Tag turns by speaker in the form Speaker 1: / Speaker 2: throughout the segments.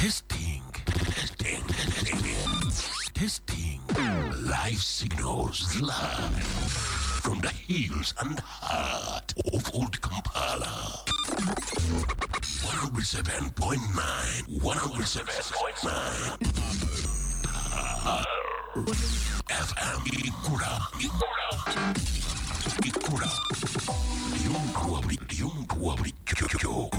Speaker 1: Testing, testing, testing. Live signals live from the hills and heart of Old Kampala. 107.9, 107.9. FM Ikura, Ikura, Ikura. Lyomtu wa buli kyo.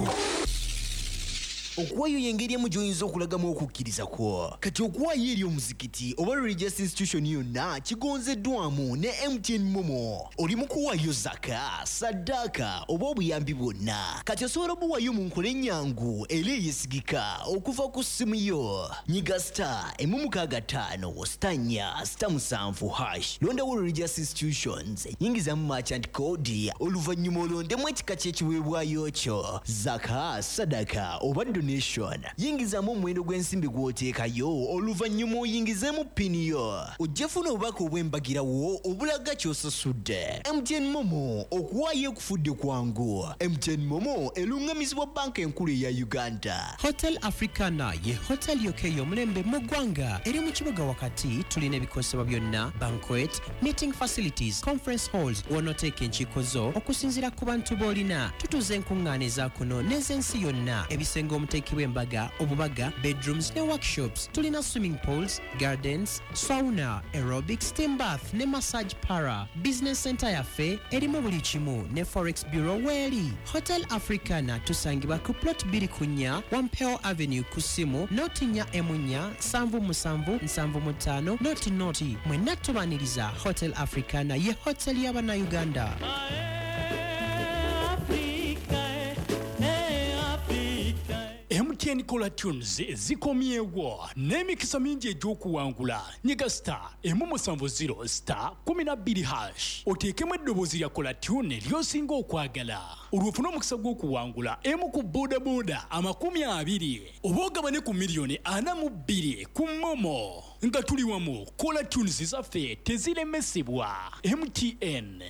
Speaker 2: Okuwaayo y'engeri emu gy'oyinza okulagamu okukkiriza kwo. Kati okuwaayo eri omuzikiti oba religious institution yonna kigonzeddwamu ne MTN MoMo. Oli mu kuwaayo zaka, saddaaka oba obuyambi bwonna. Kati osobola obuwaayo mu nkola ennyangu era eyeesigika okuva ku ssimu yo. Nyiga *165*4*7#, londawo religious institutions, yingizamu merchant code, oluvannyuma olondemu ekika ky'ekiweebwayo kyo, zaka, sadaka oba donation. Yingizamu omuwendo gw'ensimbi gw'oteekayo, oluvannyuma oyingizeemu PIN yo. Ojja funa obubaka obw'embagirawo obulaga ky'osasudde. MTN MoMo, okuwaayo ekufudde kwangu. MTN MoMo eruŋŋamizibwa Banka Enkulu eya Uganda.
Speaker 3: Hotel Africana ye hotel yokka ey'omulembe mu ggwanga. Eri mu kibuga wakati. Tulina ebikozesebwa byonna, banquet, meeting facilities, conference halls, w'onooteeka enkiiko zo okusinziira ku bantu b'olina. Tutuuza enkuŋŋaana eza kuno n'ez'ensi yonna, ebisenge omuteekebwa embaga, obubaga, bedrooms ne workshops. Tulina swimming pools, gardens, sauna, aerobics, steam bath ne massage parlour. Business center yaffe erimu buli kimu, ne forex bureau weeri. Hotel Africana tusangibwa ku plot 24 Wampeo Avenue, ku ssimu 044 77 75 00. Mwenna tubaniriza. Hotel Africana ye hotel y'Abannayuganda.
Speaker 4: MTN Caller Tunes zikomyewo n'emikisa mingi egy'okuwangula. Nyiga *170*12# oteekemu eddoboozi lya caller tune ly'osinga okwagala, olwo ofune omukisa gw'okuwangula emu ku bodaboda 20 oba ogabane ku miliyoni 42 ku MoMo. Nga tuli wamu, caller tunes zaffe teziremesebwa. MTN.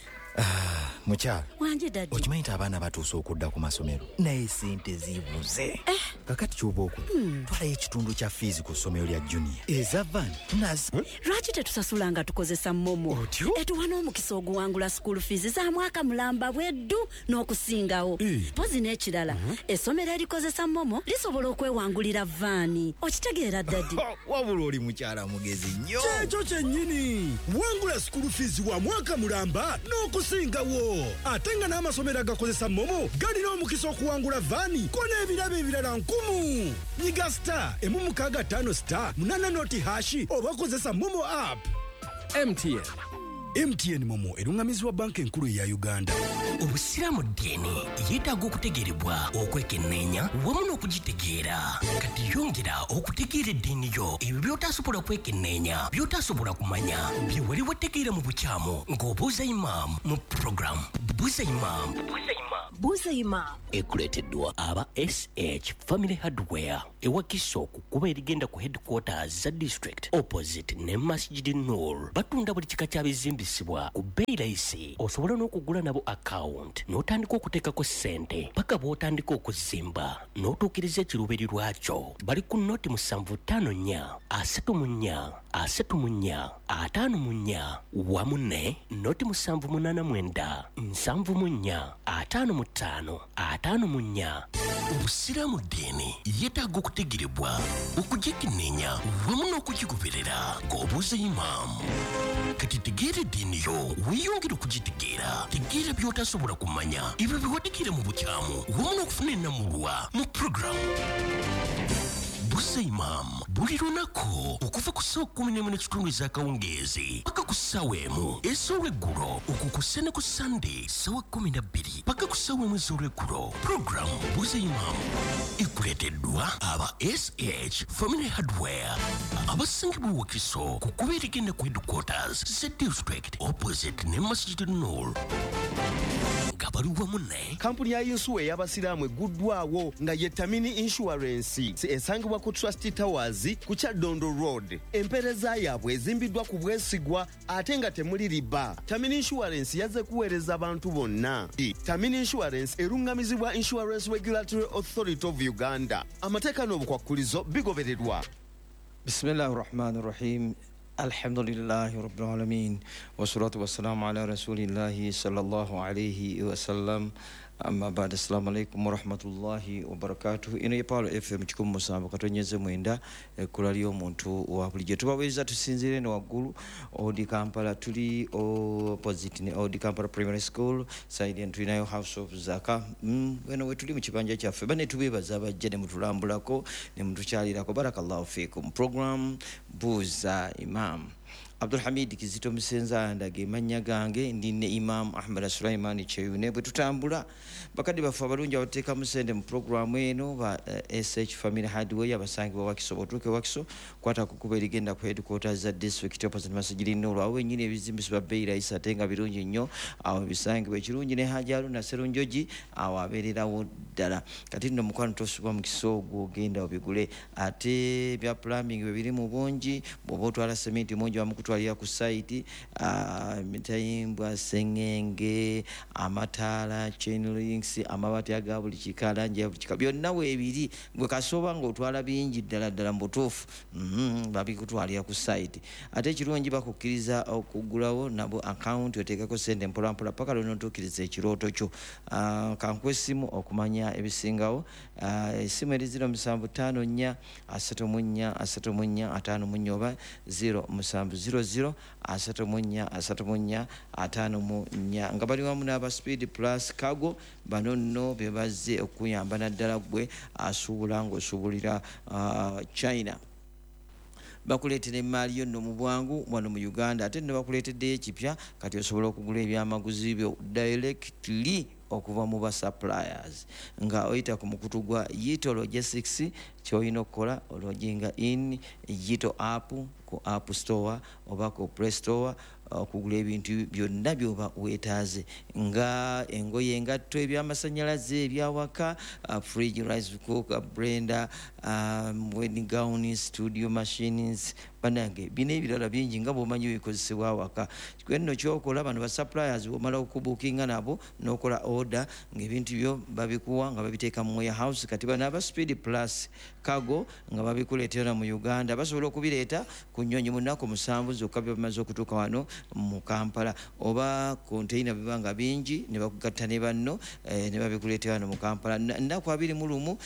Speaker 5: Mukyala.
Speaker 6: Wangi, daddy.
Speaker 5: Okimanyi nti abaana batuuse okudda ku masomero, naye sente zibuze. Kakati kyoba okola, twalayo ekitundu kya fees ku ssomero lya junior, eza van nazi.
Speaker 6: Lwaki tetusasula nga tukozesa MoMo?
Speaker 5: Otyo?
Speaker 6: Etuwa n'omukisa oguwangula school fees za mwaka mulamba bweddu n'okusingawo. Pozi n'ekirala, essomero erikozesa MoMo lisobola okwewangulira van. Okitegeera, daddy?
Speaker 5: Wabula oli mukyala mugezi nnyo.
Speaker 7: Kyekyo kyennyini. Wangula school fees wa mwaka mulamba n'okusingawo, ate nga n'amasomero agakozesa MoMo galina omukisa okuwangula van ko n'ebirabo ebirala nkumu. Nyiga *165*80# oba kozesa MoMo app.
Speaker 8: MTN.
Speaker 7: MTN MoMo eruŋŋamizibwa Banka Enkulu eya Uganda.
Speaker 1: Obusiraamu ddiini yeetaaga okutegeerebwa, okwekenneenya wamu n'okugitegeera. Kati yongera okutegeera eddiini yo. Ebyo by'otasobola kwekenneenya, by'otasobola kumanya, bye wali wategeera mu bukyamu, ng'obuuza imaamu mu puroguramu Buuza Imaamu.
Speaker 6: Buuza Imaamu.
Speaker 1: Ekuleeteddwa aba SH Family Hardware ewakiso ku kkubo erigenda ku headquarters za district, opposite ne Masjid Nur. Batunda buli kika kya bizimbisibwa ku bbeeyi layisi. Osobola n'okugula nabo account n'otandika okuteekako ssente paka bw'otandika okuzimba n'otuukiriza ekiruubirirwa kyo. Bali ku 0754 34 34 54 wamu ne 0789 74 55 54. Obusiraamu ddiini yeetaaga okutegerebwa, okugyekenneenya wamu n'okugigoberera ng'obuuza imaamu. Kati tegeera eddiini yo, weeyongere okugitegeera. Tegeera by'otasobola kumanya, ebyo bye wategeera mu bukyamu, wamu n'okufuna ennamulwa mu puroguramu Buuza Imaamu buli lunaku okuva ku ssaawa 11:30 ez'akawungeezi paka ku ssaawa 1 ez'olweggulo, okwo kussa ne ku Sande ssaawa 12 paka ku ssaawa 1 ez'olweggulo. Puroguramu Buuza Imaamu ekuleeteddwa aba SH Family Hardware abasangibwa Wakiso ku kkubo erigenda ku headquarters za district, opposite ne Masjid Nur, nga bali wamu ne
Speaker 9: Kampuni ya yinsuwa ey'abasiraamu egguddwawo nga ye Tamini Insurance, esangibwa ku Trust Towers ku Kyaddondo Road. Empeereza yaabwe ezimbiddwa ku bwesigwa ate nga temuli riba. Tamini Insurance yazze kuweereza bantu bonna. Tamini Insurance eruŋŋamizibwa Insurance Regulatory Authority of. Uganda. Amateeka n'obukwakkulizo bigobererwa.
Speaker 8: Bismillahi rahmani rahim. Alhamdulillahi rabbil alamin, wassalatu wassalamu ala rasulillahi sallallahu alayhi wasallam. Amma ba'd, assalamu alaikum warahmatullahi wabarakatuh. Ino ye Pearl FM 107.9, ekkula ly'omuntu wa bulijjo. Tubaweereza tusinziire eno waggulu Old Kampala, tuli opposite ne Old Kampala Primary School side, and tulinayo House of Zaka. Weno we tuli mu kibanja kyaffe. Bane tubeebaza abajja ne mutulambulako ne mutukyalirako. Barakallahu fiikum. Program Buuza Imam. Abdulhamid Kizito Musenza ndage mannya gange, ndi ne Imam Ahmad Sulaiman Kyeyune. Bwe tutambula, bakadde baffe abalungi abateekamu ssente mu puroguramu eno ba SH Family Hardware abasangibwa Wakiso. Bw'otuuka e Wakiso, kwata ku kkubo erigenda ku headquarters za district opposite Masjid Nur. Awo wennyini ebizimbisibwa bbeeyi rahisi ate nga birungi nnyo, awo bisangibwa. Ekirungi ne Haji Haruna Serunjogi awo abeererawo ddala. Kati nno mukwano, tosubwa mukisa ogwo, ogenda obigule. Ate ebya plumbing bwe biri mu bungi, bw'oba otwala sementi mungi bamukutwalira ku site, mitayimbwa, sengenge, amataala, chain links, amabaati aga buli kika, langi ya buli kika, byonna weebiri. Gwe kasooba ng'otwala bingi ddala ddala mu butuufu, babikutwalira ku site. Ate ekirungi, bakukkiriza okuggulawo nabo akawunti, oteekako sente mpolampola paka lw'onootuukiriza ekirooto kyo. Kankuwa essimu okumanya ebisingawo. Essimu eri 0754 34 34 54 oba 0700 34 34 54, nga bali wamu n'aba Speed Plus Cargo. Bano nno be bazze okuyamba naddala ggwe asuubula ng'osuubulira China. Bakuleetera emaali yo nno mu bwangu wano mu Uganda. Ate nno bakuleeteddeyo ekipya, kati osobola okugula ebyamaguzi byo directly okuva mu ba suppliers nga oyita ku mukutu gwa Yito Logistics. Kyolina okukola, ologinga in Yito app ku App Store oba ku Play Store okugula ebintu byonna byoba weetaaze, nga engoye, engatto, ebyamasanyalaze, ebyawaka, fridge, rice cooker, blender, wedding gown, studio machines, banange bino ebirala bingi nga bwomanyi bikozesebwa awaka. Nno kyokola, bano ba suppliers bwomala okubuukinga nabo n'okola order, ng'ebintu byo babikuwa nga babiteeka mu warehouse. Kati bano aba Speed Plus Cargo nga babikuleetera mu Uganda, basobola okubireeta ku nnyonyi mu nnaku 7 zokka bye bamaze okutuuka wano mu Kampala, oba container biba nga bingi ne bakugatta ne banno ne babikuleetera wano mu Kampala nnaku 21,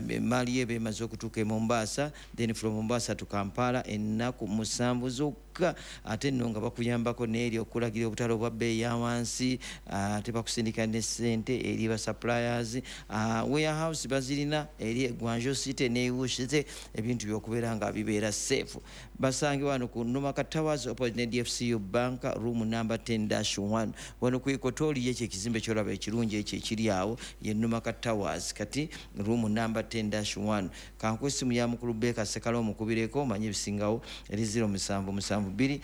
Speaker 8: emaali ye bemaze okutuuka e Mombasa, then from Mombasa to Kampala ennaku 7 zokka. Ate nno nga bakuyambako n'eri okulagira obutale obwa bbeeyi ya wansi, ate bakusindika ne ssente eri ba suppliers. Warehouse bazirina eri Guangzhou City ne Yiwu City, ebintu byokubeera nga bibeera safe. Basange wano ku Numaka Towers opposite ne DFCU Bank, room number 10-1, wano ku Equatorial. Ekyo ekizimbe kyolaba ekirungi ekyo ekiri awo ye Numaka Towers, kati room number 10-1. Kankuwa essimu ya mukulu Beka Sekala, omukubireko omanye ebisingawo, eri 0772 53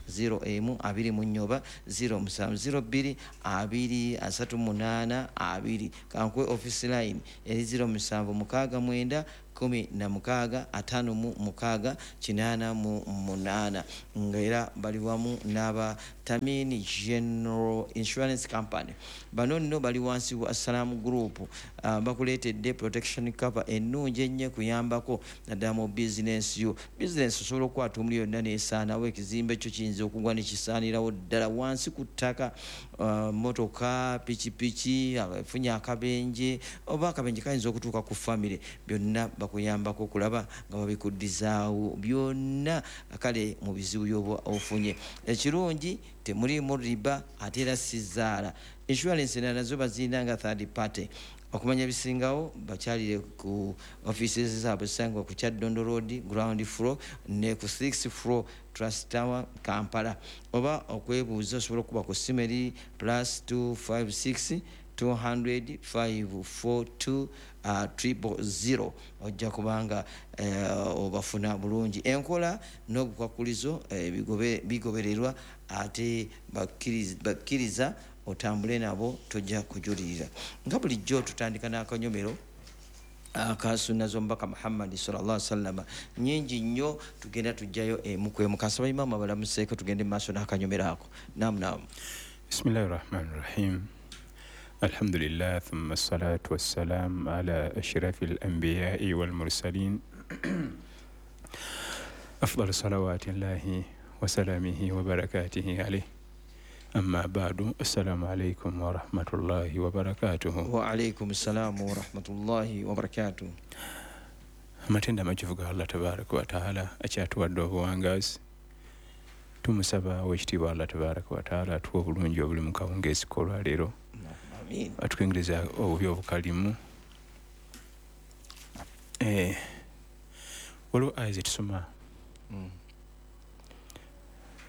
Speaker 8: 01 24 oba 0702 2 38 2. Kankuwe office line eri 0769 16 56 88, nga era bali wamu n'aba Tamini General Insurance Company. Bano nno bali wansi wa Assalamu Group. Bakuleetedde protection cover ennungi ennyo kuyambako naddala mu business yo. Business osobola okukwata omuli yonna neesaanawo, ekizimbe kyo kiyinza okugwa ne kisaanirawo ddala wansi ku ttaka, motoka, pikipiki efunye akabenje, oba akabenje kayinza okutuuka ku famire, byonna bakuyambako okulaba nga babikuddizaawo byonna kale mu bizibu byoba ofunye. Ekirungi, temuliimu riba, ate era sizaala. Insurance endala nazo bazirina nga third party. Okumanya ebisingawo, bakyalire ku offices zaabwe esangibwa ku Kyaddondo Road, ground floor, ne ku 6 floor, Trust Tower, Kampala, oba okwebuuza osobola okuba ku ssimu eri +256 200 542 000. Ojja kubanga obafuna bulungi. Enkola n'obukwakulizo bigobererwa, ate bakkiriza otambule nabo, tojja kujulirira. Nga bulijjo tutandika n'akanyomero akasunna z'omubaka Muhammadi sallallahu sallama, nyingi nnyo, tugenda tujjayo emu ku emu. Kansaba imamu abalamuseeko, tugende mu maaso n'akanyomero ako. Namu, namu.
Speaker 10: Bismillahi rahmani rahim. Alhamdulillah, thumma salatu wassalam ala ashrafil anbiya'i wal mursalin. Afdal salawatillahi wa salamihi wa barakatihi alayhi. Amma ba'du, assalamu alaikum wa rahmatullahi wa barakatuhu.
Speaker 8: Wa alaikum assalamu wa rahmatullahi wa barakatuhu.
Speaker 10: Amatenda amajuvu ga Allah tabaraka wa taala akyatuwadde obuwangaazi. Tumusaba owekitiibwa Allah tabaraka wa taala atuwe obulungi obuli mu kawungeezi k'olwaleero.
Speaker 8: Amiin.
Speaker 10: Atuyingiriza obubi obukalimu. Waliwo aya ze tusoma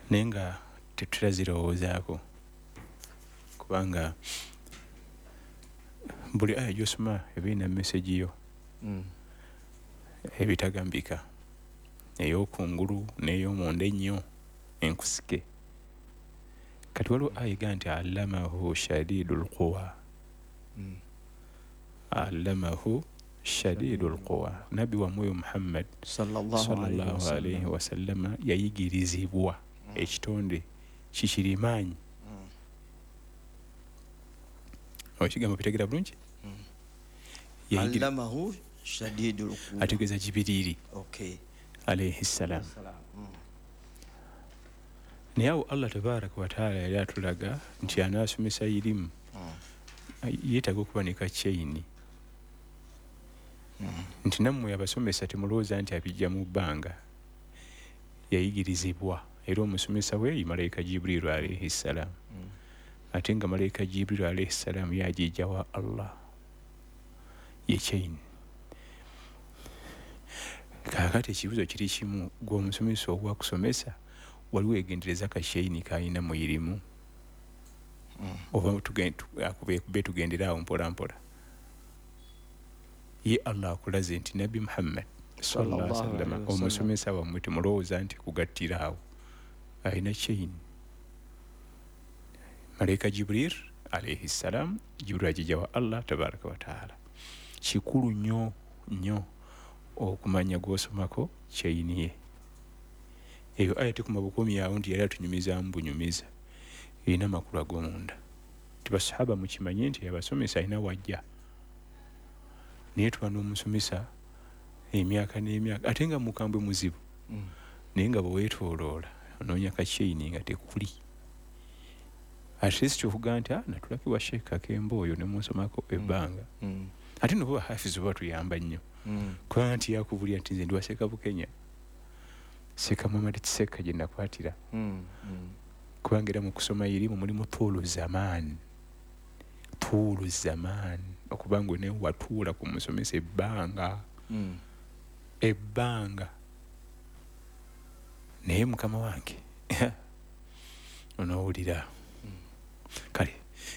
Speaker 10: naye nga tetutera zirowoozaako, kubanga buli aya gy'osoma eba erina message yo ebitagambika, ey'okungulu n'ey'omunda ennyo enkusike. Kati waliwo aya egamba nti allamahu shadidul quwa. Allamahu shadidul quwa. Nabbi wammwe Muhammad sallallahu alayhi wasallama yayigirizibwa ekitonde kikirimaanyi. Ekigambo bitegeera bulungi?
Speaker 8: Allamahu shadidul quwa,
Speaker 10: ategeeza Jibiriiri alayhi salam. Naye awo Allah tabaraka wa taala yali atulaga nti anaasomesa irimu yeetaaga okuba ne kakyeyini, nti nammwe abasomesa temulowooza nti abijja mu bbanga. Yayigirizibwa era omusomesa we malayika Jibriilu alayhi salam, ate nga malayika Jibriilu alayhi salam yagijja wa Allah ye chain. Kaakati ekibuuzo kiri kimu, gwe omusomesa ogwakusomesa waliwo egendereza kasheini k'alina mu irimu, oba tugendera awo mpola mpola? Ye Allah akulaze nti Nabbi Muhammad sallallahu alaihi wasallam omusomesa wammwe temulowooza nti kugattira awo, alina chain. Malayika Jibril alayhi salam, Jibril agijja wa Allah tabaraka wa taala. Kikulu nnyo nnyo okumanya gw'osomako chain ye. Eyo aya tekuma bukuumi awo nti yali atunyumizaamu bunyumiza, erina amakulu ag'omunda. Nti basahaba mukimanye nti abasomesa alina wajja, naye tuba n'omusomesa emyaka n'emyaka ate nga mukambwe muzibu, naye nga bwe weetooloola onoonya kakyeyini nga tekuli. At least okugaa nti natulako wa Sheikh Kakembo oyo ne munsomako ebbanga. Ate nno bo bahafizi batuyamba nnyo, kubanga nti yakubulira nti nze ndi wa Sheikh Bukenya, Sheikh Muhammad Kiseka gye nakwatira. Kubanga era mu kusoma irimu mulimu tuulu zaman, tuulu zaman, okubanga ne watuula ku musomesa ebbanga ebbanga. Naye mukama wange onoowulira. Kale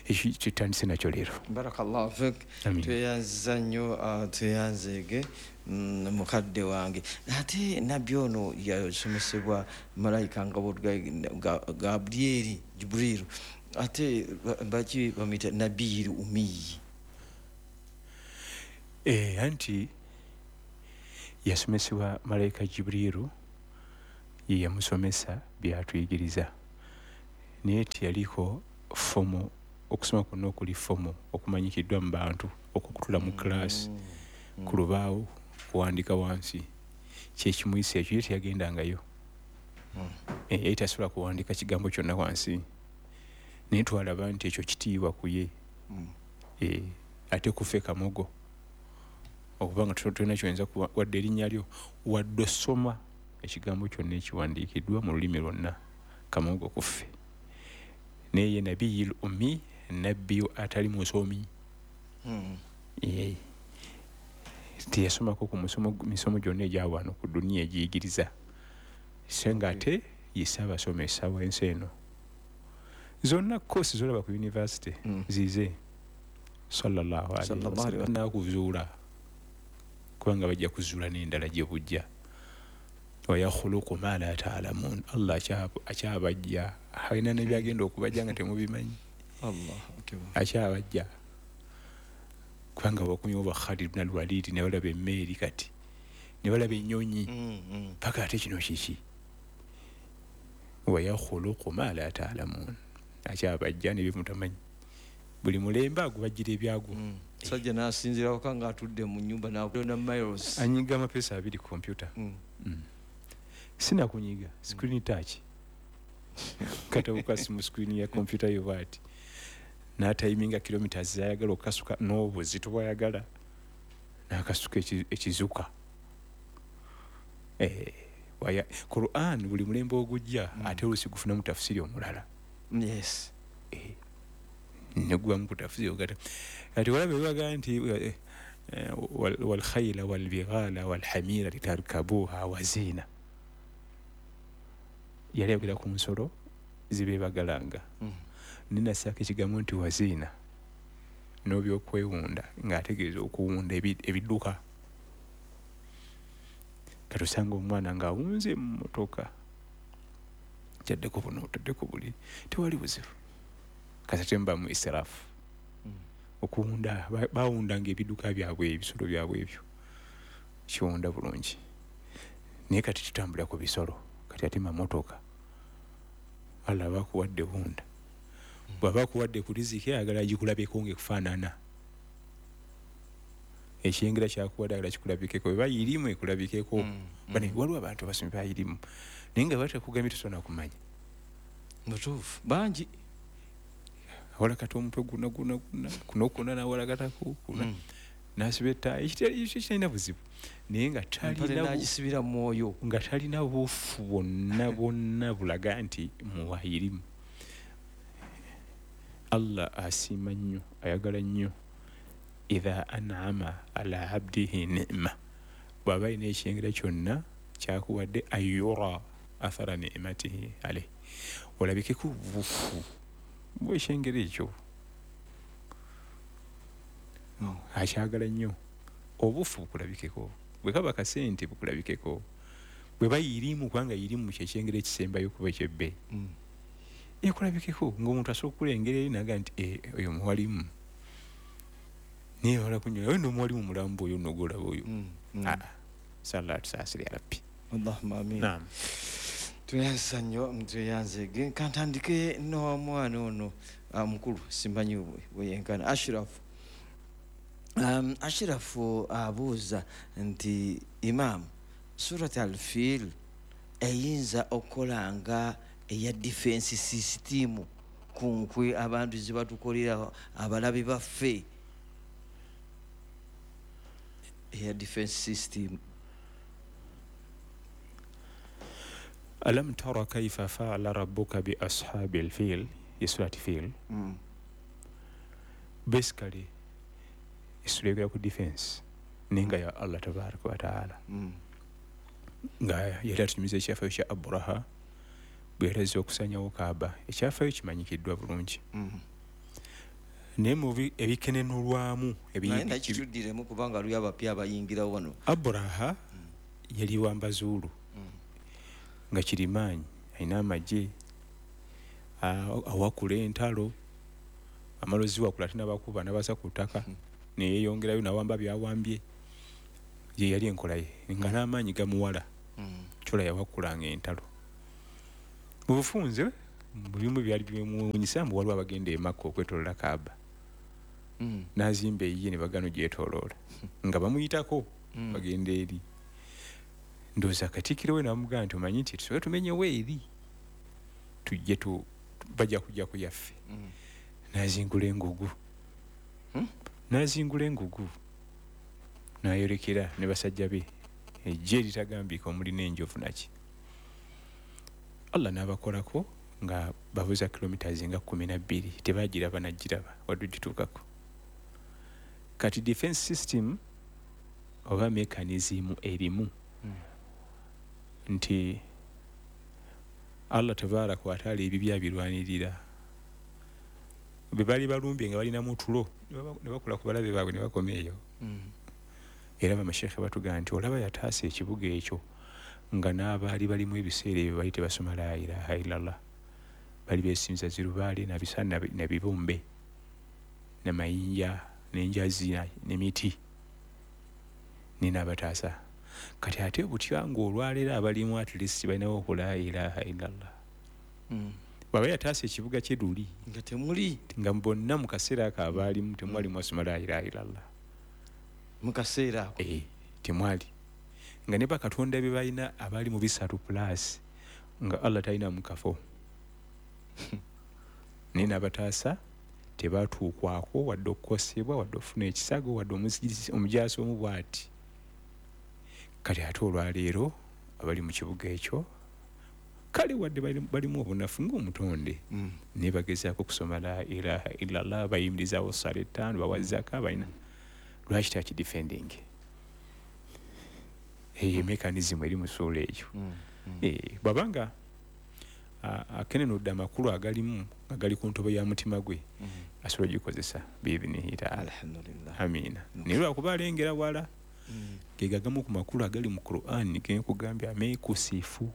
Speaker 10: ekyo kitandise nakyo leero.
Speaker 8: Barakallahu fik. Tweyanziza nnyo, tweyanzeege mukadde wange. Ate nabbi ono yasomesebwa malayika nga Gabrieli Jibriilu, ate baki bamuyita nabiyil ummiyi.
Speaker 10: Anti yasomesebwa malayika Jibriilu, ye yamusomesa byatuyigiriza, naye teyaliko fomo. Okusoma kwonna okuli fomo okumanyikiddwa mu bantu, okukutula mu class ku lubaawo kuwandika wansi, kyekimuyisa ekyo. Ye teyagendangayo, yali tasobola kuwandika kigambo kyonna wansi, naye twalaba nti ekyo kitiibwa ku ye. Ate kufe kamogo okubanga tulina kyoyinza wadde erinnya lyo, wadde osoma ekigambo kyonna ekiwandiikiddwa mu lulimi lwonna, kamogo kuffe. Naye nabiyil ummi, nabbi atali musomi. Teyasomako ku misomo gyonna egya wano ku duniya egiyigiriza, so nga ate ye ssaabasomesa w'ensi eno. Zonna koosi z'olaba ku university zize sallallahu alaihi wasallam nakuzuula, kubanga bajja kuzuula n'endala gye bujja. Wa yakhluqu ma la ta'lamun, Allah akyabajja, alina n'ebyagenda okubajja nga temubimanyi. Akyabajja kubanga bakumye oba Khalid ibn al-Walid ne balaba emmeeri kati ne balaba ennyonyi paka ate kino kiki. Wa yakhluqu ma la ta'lamun, akyabajja n'ebyo mutamanyi. Buli mulembe agubajjira ebyagwo.
Speaker 8: Sajja n'asinziira waka ng'atudde mu nnyumba n'akulonda miles.
Speaker 10: Anyiga amapeesa 2 ku kompyuta. Sinakunyiga screen touch. Katabuka simu screen ya kompyuta yo bw'ati. N'atayiminga kilometers z'ayagala okukasuka n'obuzito bw'ayagala n'akasuka ekizuka. Quran buli mulembe ogujja ate oluusi gufunamu tafsiri omulala.
Speaker 8: Yes.
Speaker 10: Negubamu ku tafsiri ogata. Kati walabe baga nti wal khayla wal bighala wal hamira litarkabuha wa zina. Yali ayogera ku nsolo zibeebagalanga. Ninasaako ekigambo nti waziina n'obyokwewunda ng'ategeeza okuwunda ebidduka. Kati osanga omwana ng'awunze mu mmotoka, kyaddeko buno otaddeko buli, tewali buzibu. Kati tembamu israfu. Okuwunda, bawundanga ebidduka byabwe, ebisolo byabwe ebyo. Kiwunda bulungi. Naye kati tutambulira ku bisolo, kati ate mamotoka. Allah bakuwadde wunda. Bw'aba akuwadde ku riziki ayagala agikulabeko ng'ekufaanana. Ekyengera kyakuwadde ayagala kikulabikeko, bwe bayirimu ekulabikeko. Bane waliwo abantu abasomi bayirimu naye nga batakugambye tosobola kumanya.
Speaker 8: Mutuufu bangi.
Speaker 10: Awalakata omutwe guna guna guna kuno kuna n'awalakatako kuna n'asiba ettaayi, ekyo kitalina buzibu naye nga
Speaker 8: talina mwoyo,
Speaker 10: nga talina bufu bwonna bwonna bulaga nti muwayirimu. Allah asiima nnyo, ayagala nnyo idha an'ama ala abdihi ni'ma, bw'aba alina ekyengera kyonna kyakuwadde ayura athara ni'matihi alayhi, olabikeko obufu bw'ekyengera ekyo. Akyagala nnyo obufu bukulabikeko, bwe kaba kasente bukulabikeko, bwe bayirimu kubanga yirimu kyekyengera ekisembayo kuba ekyebbeeyi. Ekulabikeko ng'omuntu asobola okulengera eri naga nti oyo muwalimu, naye wala kunyola oyo n'omuwalimu mulambo oyo n'ogolaba oyo. Sallallahu tusaasire ya Rabbi.
Speaker 8: Allahumma amin.
Speaker 10: Naam.
Speaker 8: Tweyanza nnyo, tweyanze. Kantandike n'omwana ono mukulu simanyi bwe yenkana Ashraf. Ashraf abuuza nti Imam, Surat Al-Fil eyinza okukola nga eya defense system ku nkwe abantu ze batukolera abalabe baffe? Eya defense system.
Speaker 10: Alam tara kayfa fa'ala rabbuka bi ashabil fil, Surat Fil. Basically isura ku defense ninga ya Allah tabaraka wa ta'ala. Nga yali atunyumiza ekyafaayo kya Abraha bwe yali okusanyawo Kaaba, ekyafaayo kimanyikiddwa bulungi. Naye mu ebikenenulwamu
Speaker 8: nakituddiremu kubanga luli abapya abayingira wano.
Speaker 10: Abraha yali wambazuulu nga kirimaanyi, alina amagye, awakula entalo, amalozi wakula ate n'abakuba n'abasa ku ttaka, neyeyongerayo n'awamba byawambye. Ye yali enkola ye nga n'amaanyi gamuwala. Kyola yawakulanga entalo. Mu bufunze mu bimu byali byemuwunyisa mbu waliwo abagenda e Makka okwetooloola Kaaba. N'azimba eyiye ne bagano gyetooloola nga bamuyitako bagenda eri. Ndowooza katikkiro we n'amugamba nti omanyi nti tusooke tumenyewo eri tujje bajja kujja ku yaffe. N'azingula engugu. N'azingula engugu n'ayolekera ne basajja be ejje eritagambika omuli n'enjovu naki. Allah n'abakolako nga babuza kilometers nga 12 tebagiraba nagiraba wadde gituukako. Kati defense system oba mechanism erimu nti Allah tabaraka wa taala ebibya birwanirira. Bwe bali balumbye nga balina mutulo ne bakola ku balabe baabwe ne bakoma eyo. Era bamashekhe batugamba nti olaba yataasa ekibuga ekyo nga n'abaali balimu ebiseera ebyo bali tebasoma la ilaha illallah, bali beesinza zirubaale nabisa nabibumbe namayinja n'enjazi n'emiti ninaabataasa. Kati ate butya ng'olwaleero abalimu at least balinawo ku la ilaha illallah. Bwaba yataasa ekibuga kye luli
Speaker 8: nga temuli,
Speaker 10: nga bonna mu kaseera ako abaalimu temwali mwasoma la ilaha illallah
Speaker 8: mu kaseera ako.
Speaker 10: Temwali, nga ne bakatonda be balina abaali mu 3 plus nga Allah talina mu kafo. Naye n'abataasa tebatuukwako wadde okukosebwa, wadde okufuna ekisago, wadde omujaasi omu bw'ati. Kati ate olwaleero abali mu kibuga ekyo kale wadde balimu obunafu ng'omutonde, naye bagezaako okusoma la ilaha illallah, bayimirizaawo ssaala 5, bawa zaka, balina. Lwaki takidefending? Eyo mechanism eri mu ssuula eyo. Bw'abanga akenenudde amakulu agalimu nga gali ku ntobo ya mutima gwe, asobola ogikozesa biidhinihi taala.
Speaker 8: Alhamdulillah.
Speaker 10: Amiina. Naye lwakuba alengera wala, ge gagamu ku makulu agali mu Qur'an genkugambye ameekusifu,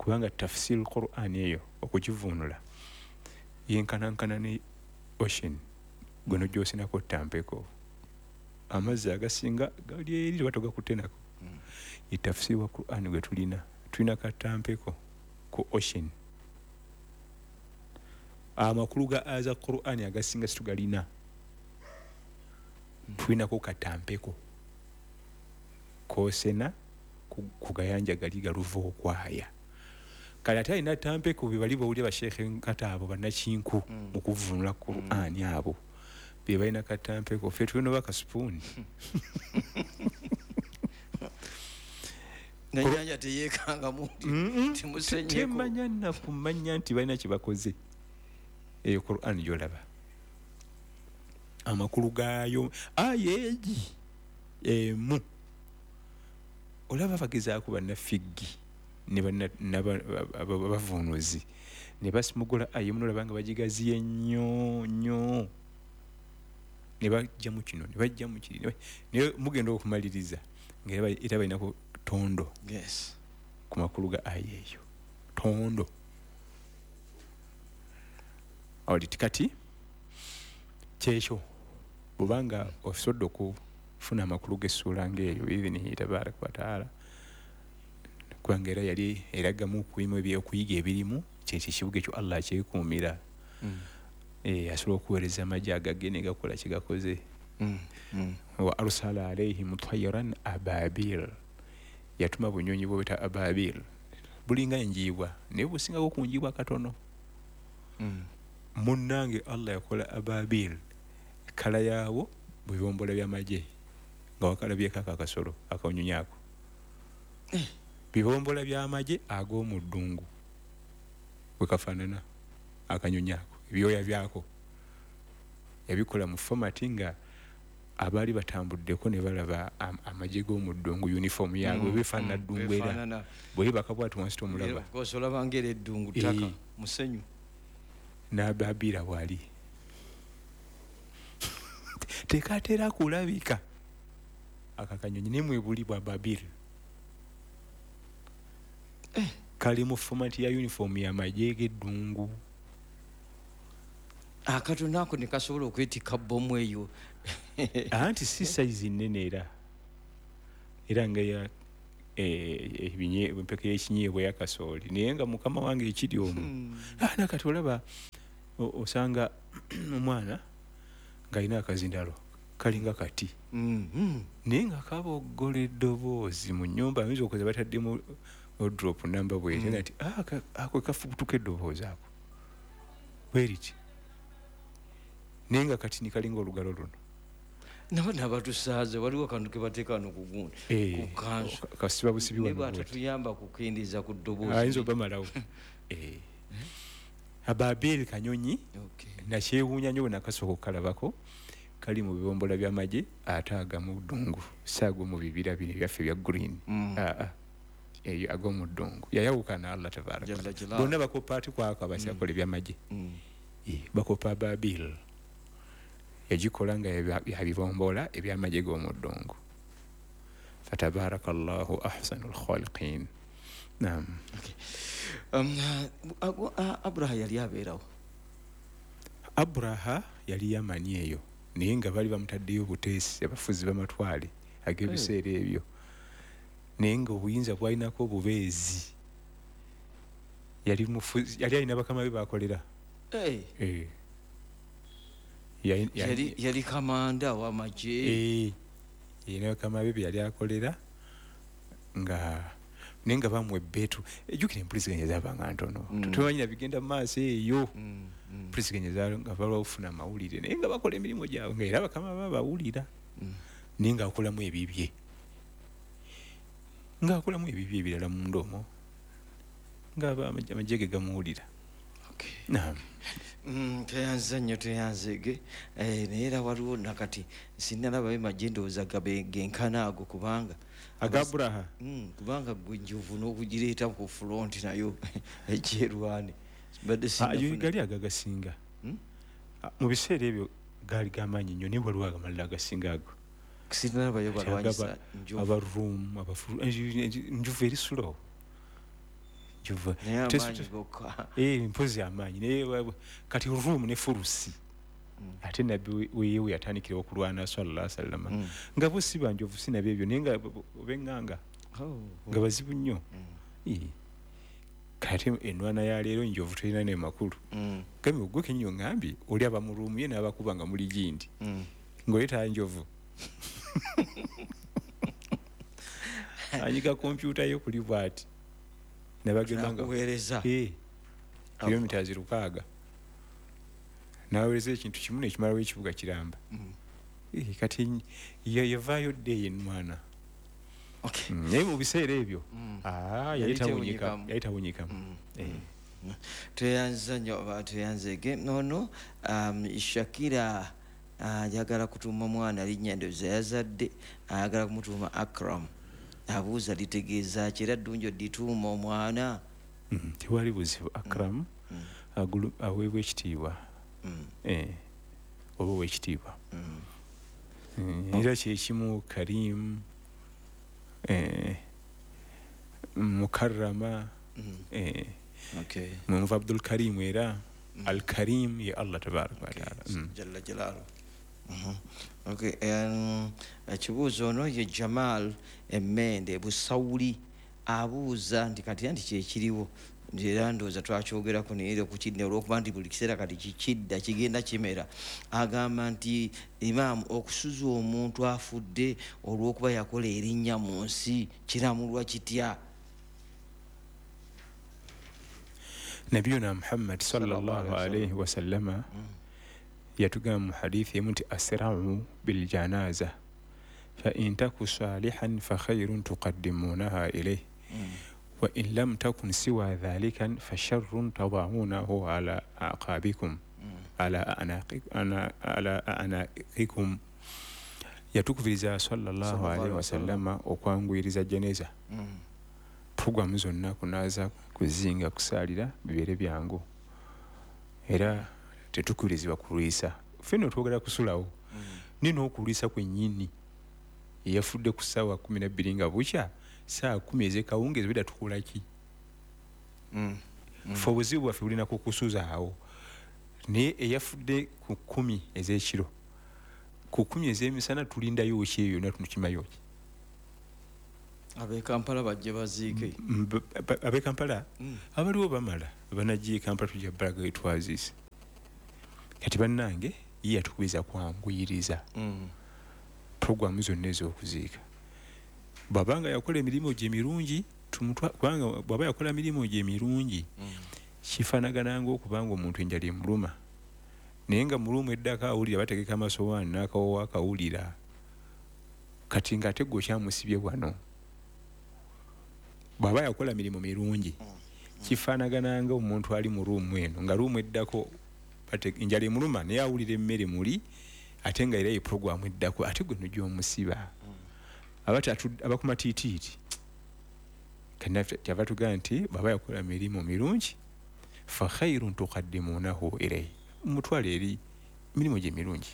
Speaker 10: kubanga tafsir Qur'an eyo okugivuunula yenkanankana ne ocean gwe n'ogyosenako ttampeko, amazzi agasinga gali eri oba togakutte nako. Ye tafsiri wa Qur'an gwe tulina, tulina katampeko ku ocean. Amakulu ga aza Qur'an agasinga situgalina, tulinako katampeko kosena ku gayanja gali galuva okwaya. Kale ate alina tampeko be bali bawulira basheekhe nkata abo bannakinku mu kuvvuunula Qur'an, abo be balina katampeko, ffe tulina oba kasupuuni.
Speaker 8: Nenyanja teyeekangamu timusenyeko.
Speaker 10: Temanya nakumanya nti balina kye bakoze. Eyo Qur'an gy'olaba amakulu gaayo aya egi emu olaba bagezaako bannafiggi ne bavuunuzi ne basimugula aya emu, n'olaba nga bagigaziye nnyo nnyo, ne bajjamu kino ne bajjamu kiri, naye mugenda okumaliriza nga era balinako tondo.
Speaker 8: Yes.
Speaker 10: Ku makulu ga aya eyo tondo. Awali kati kyekyo bw'obanga osobodde okufuna amakulu g'essuula ng'eyo biidhinihi tabaaraka wa taala, kubanga era yali eragamu okuyimu ebyokuyiga ebirimu, kyekyo ekibuga ekyo Allah akyekuumira. Asobola okuweereza amagye agage ne gakola kye gakoze. Wa arsala alaihim tayran ababil, yatuma bunyonyi bweta ababil, bulinga enjiibwa naye busingako ku njiibwa katono. Munnange Allah yakola ababil kala yaawo bibombola by'amagye nga wakalabyeko ako akasolo akanyonyi ako, bibombola by'amagye ag'omu ddungu bwe kafaanana akanyonyi ako, ebyoya byako yabikola mu fomati nga abaali batambuddeko ne balaba amagye g'omu ddungu, uniform yaabwe befaanana ddungu, era bweyebaka bwati wansi tomulaba.
Speaker 8: Of course, olaba ng'era eddungu ttaka musenyu.
Speaker 10: N'ababiira bw'ali tekatera kulabika akakanyonyi naye mwebuli bwa babiri kali mu fomati ya uniform y'amagye g'eddungu.
Speaker 8: Akatono ako ne kasobola okwetikka bbomu eyo.
Speaker 10: Anti si sayizi nnene, era nga ya empeke y'ekinyeebwa ey'akasooli, naye nga mukama wange ekiri omwo. Nakati olaba osanga omwana ng'alina akazindalo kalinga kati, naye nga kaboggola eddoboozi mu nnyumba, ayinza okukoza bataddemu drop namba bwete nti ako kafubutuka eddoboozi ako bweriti, naye nga kati ni kalinga olugalo luno.
Speaker 8: Nabo nabatusaaze waliwo akantu ke bateeka wano ku gundi ku kansu
Speaker 10: kasiba busibi
Speaker 8: naye
Speaker 10: wano bw'oti.
Speaker 8: Bw'atatuyamba kukendeeza ku ddoboozi.
Speaker 10: Ayinza obamalawo. Ababiiri kanyonyi nakyewuunya nnyo bwe nakasooka okukalabako, kali mu bibombola by'amagye ate agamu ddungu, si ag'omu bibira bino ebyaffe ebya green. Eyo ag'omu ddungu yayawukana Allah tabaaraka.
Speaker 8: Jalla jalaaluhu.
Speaker 10: Bonna bakopa ate kwako abasyakola eby'amagye. Bakopa Ababil yagikola nga yabibombola eby'amagye g'omu ddungu. Fatabaarakallahu ahsanul khaliqin. Naam.
Speaker 8: Okay. Abraha yali abeerawo.
Speaker 10: Abraha yali Yamani eyo, naye nga bali bamutaddeyo buteesi abafuzi b'amatwale ag'ebiseera ebyo, naye nga obuyinza bwalinako obubeezi. Yali mufuzi, yali alina bakama be bakolera.
Speaker 8: Yali kamanda w'amagye.
Speaker 10: Yalina bakama be yali akolera nga naye nga bamuwa ebbeetu. Ejjukira empuliziganya zaabanga ntono, tumanyi bigenda mu maaso eyo. Empuliziganya nga balwa okufuna amawulire, naye nga bakola emirimu gyabwe nga era bakama babawulira, naye ng'akolamu ebibye, ng'akolamu ebibye ebirala munda omwo, nga amagye ge gamuwulira.
Speaker 8: Tweyanza nnyo, tweyanzege. Naye era waliwo nakati sinnalabayo magye ndowooza genkana ago, kubanga
Speaker 10: agaburaha
Speaker 8: kubanga gwe njovu n'okugireeta ku front nayo ekyerwane mbadde
Speaker 10: sinnafuna. Gali agagasinga mu biseera ebyo gaali gamaanyi nnyo, naye waliwo agamalala agasinga ago.
Speaker 8: Sinnalabayo balwanyisa njovu,
Speaker 10: abaruumu, njovu eri slow. Mpozi amaanyi naye kati ruumu ne furusi. Ate nabbi weyewe yatandikira okulwana sallallahu alaihi wasallam nga bo si banjovu si nabyo ebyo, naye nga obeŋŋanga nga bazibu nnyo. Kati enwana ya leero njovu terina ne makulu. Gambye gwe kenyo ngambye oli aba mu ruumu ye n'abakuba nga muli gindi ng'oleeta njovu anyiga kompyuta yo kuli bw'ati nabagamba nga
Speaker 8: kuweereza
Speaker 10: kilomita 6 naweereza ekintu kimu nekimalawo ekibuga kiramba. Kati yavaayo dde eyo enwana. Naye mu biseera ebyo yali tawunyikamu.
Speaker 8: Tweyanza nnyo, tweyanzege. Ono Shakira ayagala kutuuma mwana linnya ndowooza yazadde, ayagala kumutuuma Akram. Abuuza litegeeza ki era ddungi odituuma omwana?
Speaker 10: Tewali buzibu. Akram aweebwa ekitiibwa, oba ow'ekitiibwa. Era kyekimu Karim, Mukarrama, mwenva Abdul Karim, era Al-Karim ye Allah tabaraka wa taala
Speaker 8: jalla jalaaluhu. Okay, ekibuuzo ono ye Jamal Emmende Busawuli abuuza nti kati anti kyekiriwo, era ndowooza twakyogerako naye era okukidda olw'okuba nti buli kiseera kati kikidda kigenda kimera. Agamba nti imaamu, okusuza omuntu afudde olw'okuba yakola erinnya mu nsi kiramulwa kitya?
Speaker 10: Nabiyuna Muhammad sallallahu alaihi wasallama yatugamba mu hadithi emu nti asra'u biljanaza fa in taku salihan fa khairun tuqaddimunaha ilayhi wa in lam takun siwa dhalika fa sharrun tada'unahu ala aqabikum ala a'naqikum. Yatukubiriza sallallahu alaihi wasallama okwanguyiriza jeneza. Programu zonna kunaza, kuzinga, kusaalira bibeere byangu, era tetukubirizibwa kulwisa. Ffenna twogera kusulawo, naye n'okulwisa kwennyini eyafudde ku ssaawa 12 nga bukya, ssaawa 10 ez'ekawungeezi bwedda tukola ki? Ffe obuzibu bwaffe bulina kukusuzaawo, naye eyafudde ku 10 ez'ekiro, ku 10 ez'emisana tulindayo ki eyo yonna tukimayo ki?
Speaker 8: Ab'e Kampala bajje baziike.
Speaker 10: Ab'e Kampala abaliwo bamala banajja e Kampala tujja balaga we twaziise. Kati bannange ye yatukubiriza kwanguyiriza programu zonna ez'okuziika. Bw'abanga yakola emirimu gye emirungi, kubanga bw'aba yakola emirimu gye emirungi kifaanagana ng'okubanga omuntu enjala emuluma, naye nga mulumu eddako awulira bategeka amasowaani n'akawoowo akawulira, kati ng'ate gwe okyamusibye wano. Bw'aba yakola mirimu mirungi kifaanagana nga omuntu ali mu ruumu eno nga ruumu eddako enjala emuluma naye awulira emmere muli, ate nga era ye programu eddako, ate gwe nojja omusiba. Abakuma tiitiiti kyava tugamba nti bw'aba yakola mirimu mirungi fa khairun tuqaddimunahu ilayhi, mutwale eri mirimu gye mirungi.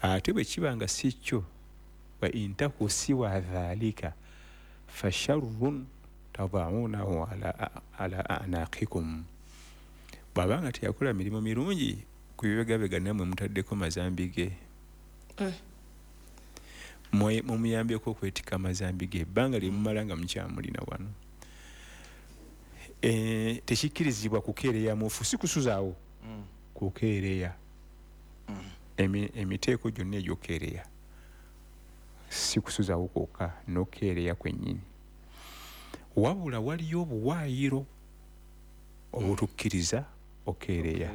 Speaker 10: Ate bwe kiba nga si kyo, wa in taku siwa dhalika fa sharrun tada'unahu ala a'naqikum. Bw'abanga teyakola mirimu mirungi ku bibegabega nammwe mutaddeko mazambi ge. Mumuyambyeko okwetikka amazambi ge ebbanga lye mumala nga mukyamulina wano. Tekikkirizibwa kukeereya mufu, si kusuzaawo, kukeereya. Emiteeko gyonna egyokeereya si kusuzaawo kwokka, n'okeereya kwennyini. Wabula waliyo obuwaayiro obutukkiriza okeereya.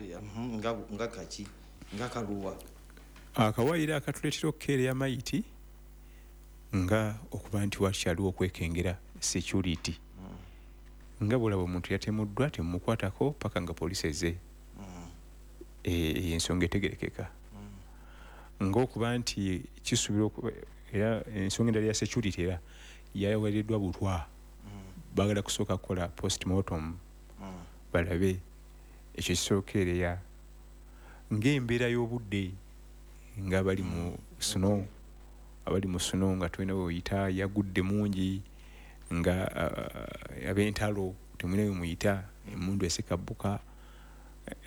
Speaker 8: Nga kaki? Nga kaluwa?
Speaker 10: Akawaayiro akatuleetera okukeereya mayiti nga okuba nti wakyaliwo okwekengera security. Nga bw'olaba omuntu yatemuddwa temumukwatako paka nga poliisi ezze. Ensonga etegerekeka. Ng'okuba nti kisuubirwa era ensonga endala ya security era yaweereddwa butwa. Baagala kusooka kukola postmortem balabe ekyo kisookeereya. Ng'embeera y'obudde nga bali mu snow, abali mu snow nga tolina we oyita, yagudde mungi, nga ab'entalo temulina we muyita, emmundu esekabbuka.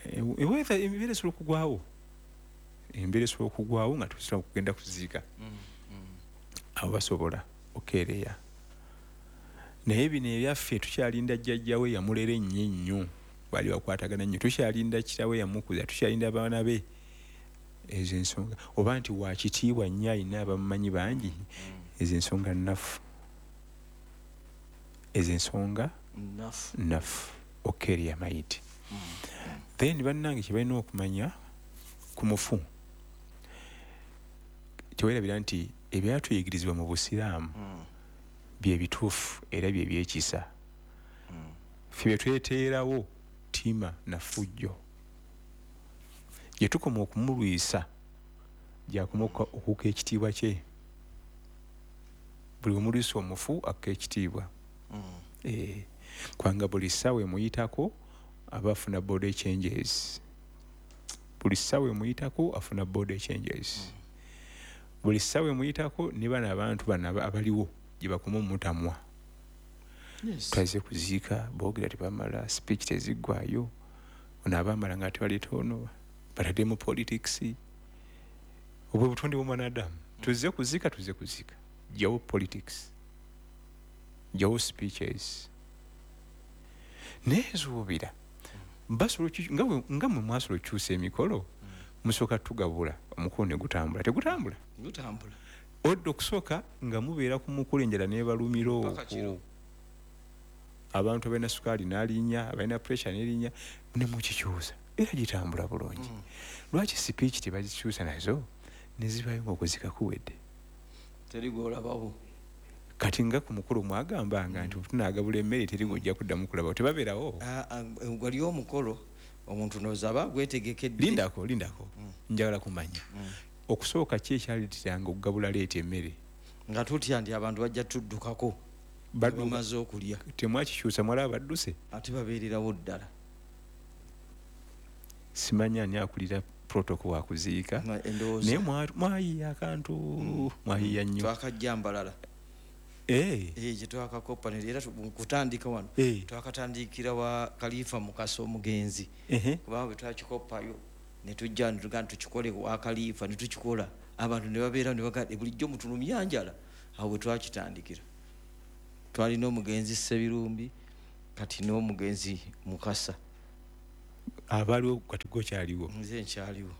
Speaker 10: Embeera esobola okugwawo. Embeera esobola okugwawo nga tusobola kugenda kuziika. Abo basobola okeereya. Naye bino ebyaffe tukyalinda jjajjawe yamulera ennyo ennyo, baali bakwatagana nnyo, tukyalinda kitaawe yamukuza, tukyalinda abaana be. Ezo ensonga oba nti wa kitiibwa nnyo alina abamumanyi bangi, ezo ensonga nnafu. Ezo ensonga nnafu okeereya mayiti. Then bannange kye balina okumanya ku mufu, teweerabira nti ebyatuyigirizibwa mu Busiraamu bye bituufu era bye byekisa. Ffe bye tweteerawo ttima na ffujjo. Gye tukoma okumulwisa gy'akoma okukka ekitiibwa kye. Buli omulwisa omufu akka ekitiibwa. Kubanga buli ssaawa emuyitako aba afuna body changes. Buli ssaawa emuyitako afuna body changes. Buli ssaawa emuyitako ne bano abantu bano abaliwo gye bakoma omutamwa. Twaze kuziika, boogera tebamala, speech teziggwayo. Ono abaamala nga tebaleeta ono, batadde mu politics. Obwo butonde bw'omwanadamu. Tuzze kuziika, tuzze kuziika. Jjawo politics. Jjawo speeches. Naye nsuubira nga mwe mwasobola okukyusa emikolo, musooka tugabula omukolo ne gutambula. Tegutambula?
Speaker 8: Gutambula.
Speaker 10: Odda okusooka nga mubeera ku mukolo enjala n'ebalumira okwo. Abantu abalina sukaali n'alinnya, abalina pressure n'erinnya, ne mukikyusa. Era gitambula bulungi. Lwaki speech tebazikyusa nazo ne zibaayo ng'okuzika kuwedde?
Speaker 8: Teri gw'olabawo.
Speaker 10: Kati nga ku mukolo mwagambanga nti tunaagabula emmere teri gw'ojja kuddamu kulabawo, tebabeerawo?
Speaker 8: Wali omukolo omuntu ndowooza aba agwetegekedde.
Speaker 10: Lindako. Njagala kumanya. Okusooka ki ekyaleeteranga okugabula leeta emmere?
Speaker 8: Nga tutya nti abantu bajja tuddukako. Bamaze okulya.
Speaker 10: Temwakikyusa mwalaba badduse?
Speaker 8: Ate babeererawo ddala.
Speaker 10: Simanyi ani akulira protocol wa kuziika. Naye mwayiiya akantu, mwayiiya nnyo.
Speaker 8: Twakajja mbalala. Gye twakakopa era kutandika wano. Twakatandikira wa Khalifa Mukasa omugenzi. Kubanga bwe twakikoppayo ne tujja ne tugamba tukikole wa Khalifa ne tukikola. Abantu ne babeera ne bagamba bulijjo mutulumya njala. Awo bwe twakitandikira. Twalina omugenzi Ssebirumbi kati n'omugenzi Mukasa.
Speaker 10: Abaliwo kati gwe okyaliwo?
Speaker 8: Nze nkyaliwo.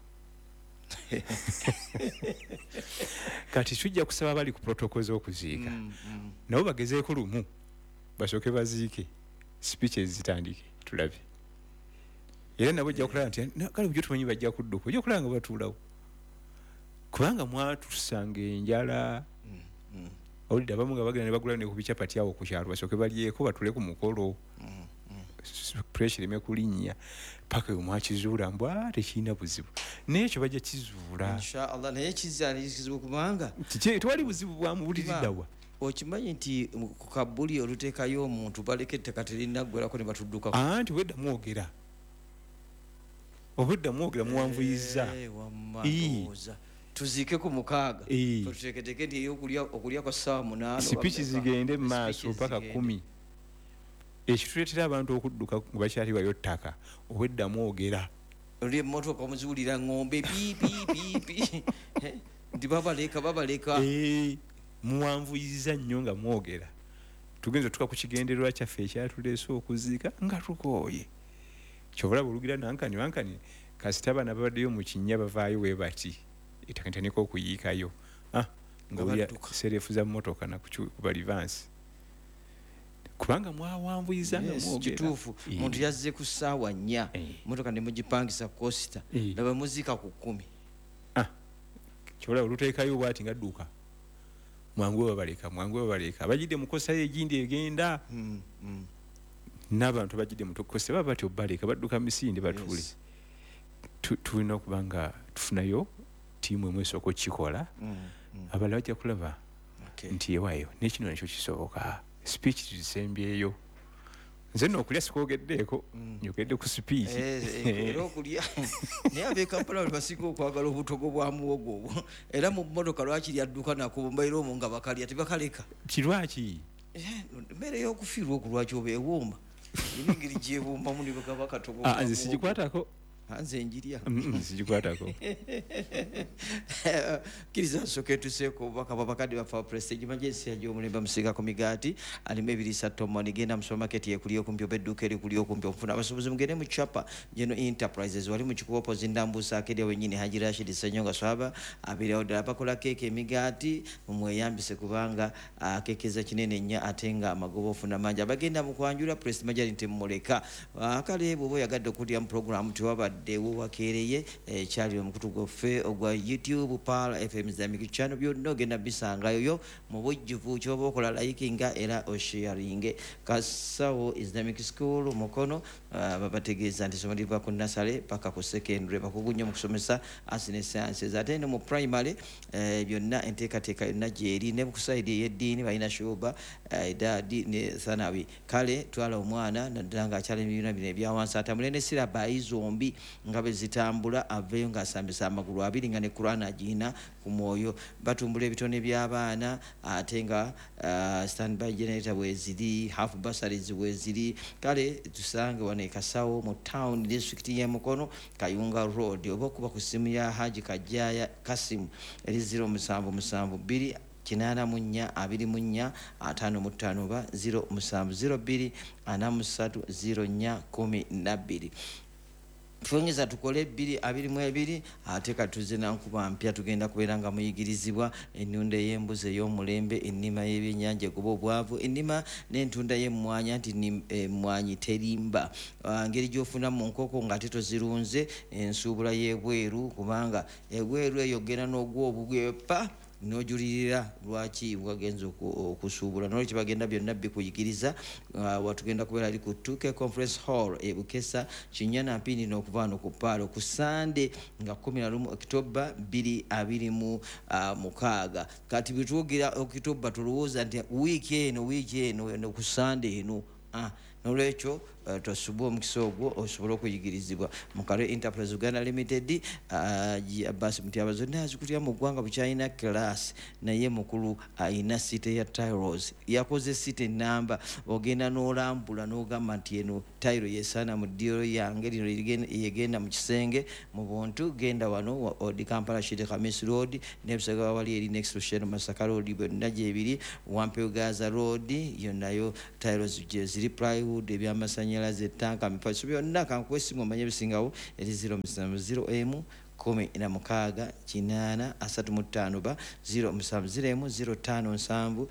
Speaker 10: Kati tujja kusaba abali ku protocol z'okuziika. Nabo bagezeeko lumu basooke baziike, speeches zitandike tulabe. Era nabo ojja kulaba nti kale bulijjo tumanyi bajja kudduka, ojja kulaba nga batuulawo. Kubanga mwatusanga enjala. Owulidde abamu nga bagenda ne bagula ne ku bichapati awo ku kyalo basooke balyeko batule ku mukolo. Pressure ereme kulinnya paka we mwakizuula mbu tekirina buzibu. Naye ekyo bajja kizuula.
Speaker 8: Inshallah naye kizibu kubanga
Speaker 10: kiki tewali buzibu bwa mubuliriddwa.
Speaker 8: Okimanyi nti ku kabuli oluteekayo omuntu baleka ettaka terinaggwerako ne batuddukako.
Speaker 10: Anti wedda mwogera. Obwedda mwogera muwanvuyizza.
Speaker 8: Wamma ndowooza. Tuziike ku 6. Tuteeketeeke nti okulya kwa ssaawa 8.
Speaker 10: Speech zigende mu maaso paka 10. Ekituleetera abantu okudduka nga bakyaliwayo ttaka obwedda mwogera.
Speaker 8: Oli emmotoka omuziwulira ng'ombe pi pi pi pi. Nti babaleka.
Speaker 10: Muwanvuyizza nnyo nga mwogera. Tugenza tuka ku kigendererwa kyaffe ekyatuleese okuziika nga tukooye. Kyova olaba olugira nankani wankani, kasita abaana babaddeyo mu kinnya bavaayo we bati, ettaka litandika okuyiikayo, ng'olya sereefu za mmotoka nakuba livansi, kubanga mwawanvuyiza nga mwogera.
Speaker 8: Kituufu, muntu yazze ku ssaawa 4, mmotoka ne mugipangisa coaster, laba muziika ku 10.
Speaker 10: Kyova olaba oluteekayo bw'ati nga dduka, mwangu babaleka, mwangu babaleka, abajidde mu kosa egindi egenda, n'abantu abajidde mu kosa baba batyo baleka, badduka misinde batuule. Tulina okuba nga tufunayo ttiimu emu esooka okukikola, abalala bajja kulaba nti ewaayo n'ekino nakyo kisoboka. Speech tuzisembyeyo. Nze nno okulya sikwogeddeeko, njogedde ku speech.
Speaker 8: Era okulya, naye ab'e Kampala bali basinga okwagala obutogo bwa muwogo obwo, era mu mmotoka lwaki lyadduka nako mbaire omwo nga bakalya tebakaleka.
Speaker 10: Kirwaki?
Speaker 8: Mmere y'okufiirwa okwo lwaki oba ewooma? Erina engeri gy'ewoomamu ne bagaba akatogo ka
Speaker 10: Nze
Speaker 8: muwogo.
Speaker 10: sigikwatako.
Speaker 8: Nze njirya.
Speaker 10: Sigikwatako.
Speaker 8: Kkiriza nsooke tuseeko obubaka bw'abakadde baffe aba Prestige Emergency gy'omulembe musiga ku migaati alimu ebiriisa tomoni. Genda mu supermarket ekuli okumpi oba edduuka erikuli okumpi okufuna abasuubuzi, mugende mu Chapa General Enterprises wali mu Kikubo opposite Ndambusa Arcade wennyini. Haji Rashid Ssenyonga Swaba abeerawo ddala, bakola keeke, emigaati, mumweyambise kubanga akekeza kinene nnyo ate nga amagoba ofuna mangi. Abagenda mu kwanjula Prestige Margarine temumuleka. Kale bw'oba oyagadde okulya mu program tewabaddewo wakeereye, kyali omukutu gwaffe ogwa YouTube Pearl FM Islamic Channel, byonna ogenda bisangayo mu bujjuvu. Kyoba okola likinga era osharinge. Kasawo Islamic School Mukono, babategeeza nti essomero liva ku nursery paka ku secondary, bakugu nnyo mu kusomesa arts ne sciences, ate ne mu primary byonna enteekateeka yonna gyeri, ne ku side ey'eddiini balina shuba, idaadi ne thanawi. Kale twala omwana naddala ng'akyali mu bibiina bino ebyawansi, atambule ne syllabi zombi nga bwe zitambula, aveeyo ng'asambisa amagulu abiri nga ne Quran agirina ku mwoyo. Batumbula ebitone by'abaana, ate nga standby generator weeziri, half bursaries weeziri. Kale tusange wano e Kasawo mu town, district y'e Mukono, Kayunga Road, oba okuba ku ssimu ya Haji Kajjaya Kasimu eri 0772 84 24 55 oba 0702 43 04 12. Twongeza tukole 2022, ate katuze nankuba mpya, tugenda kubeera nga muyigirizibwa ennunda ey'embuzi ey'omulembe, ennima y'ebyennyanja egoba obwavu, ennima n'entunda y'emmwanyi, anti emmwanyi terimba, ngeri gy'ofuna mu nkoko ng'ate tozirunze, ensuubula y'ebweru, kubanga ebweru eyo ogenda n'ogwa obugwe pa n'ojulirira lwaki wagenza okusuubula. Nolwekyo bagenda byonna bikuyigiriza. Watugenda kubeera ali ku 2K Conference Hall e Bukesa, Kinnya na Mpindi, n'okuva wano ku Paalo ku Sande nga 11 Okitoba 2026. Kati bwe twogera Okitoba tulowooza nti wiiki eno eno ku Sande eno. Nolwekyo tosubwa omukisa ogwo osobole okuyigirizibwa Mukale Enterprise Uganda Limited. Abbas Mutyaba zonna azikutya mu ggwanga bukyalina class, naye mukulu ayina city ya tiles, yakoze city namba, ogenda n'olambula n'ogamba nti eno tile yesaana mu ddiiro yange, lino yegenda mu kisenge mu buntu. Genda wano odi Kampala Sheikh Khamis Road n'ebisagawa wali eri next to Shell Masaka Road, byonna gyebiri. Wampeo Gaza Road yonnayo tiles gye ziri, plywood, ebyamasanyalaze, ettanka, mifaliso, byonna. Kankuwa essimu omanye ebisingawo eri 070 emu 16 80 35 ba 0701 05 7.